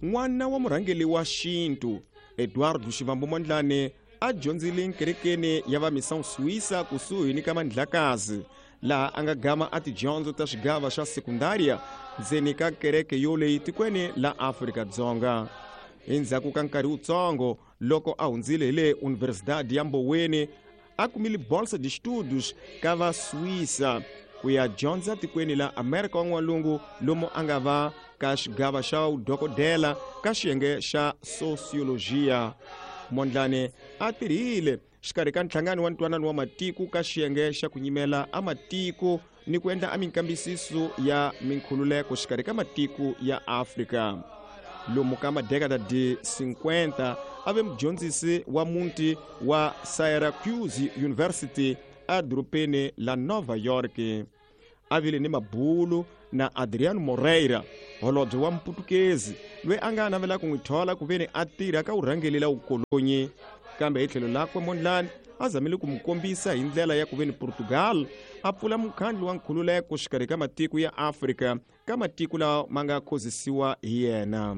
N'wana wa murhangeri wa xintu Eduardo Shivambu Mondlane a dyondzile nkerekeni ya va Missão Suíça kusuhi ni ka Mandlakazi, laha a nga gama a tidyondzo ta xigava xa sekundaria ndzeni ka kereke yoleyi tikweni la Afrika-Dzonga. Endzhaku ka nkarhi wutsongo loko a hundzile hi le Universidade ya Mboweni, a kumile bolsa de estudos ka va Suíça ku ya dyondza tikweni la Amerika wa N'walungu, lomu a nga va ka xigava xa vudokodela ka xiyenge xa sociologia. Mondlane a tirhile xikarhi ka nhlangano wa ntwanano wa matiko ka xiyenge xa ku nyimela a matiko ni ku endla a minkambisiso ya minkhululeko xikarhi ka matiko ya Afrika. Lomu ka madekada de 50 a ve mudyondzisi wa muti wa Syracuse University a dorobeni la Nova York. A vile ni mabulu na Adriano Moreira, holobye wa Mputukezi loyi a nga navela ku n'wi thola ku veni a tirha ka vurhangeri la vukolonyi. Kambe hi tlhelo lakwe Mondlane a zamile ku n'wi kombisa hi ndlela ya ku veni Portugal a pfula mukhandlu wa nkhululeko xikarhi ka matiko ya Afrika ka matiko lawa ma nga khozisiwa hi yena.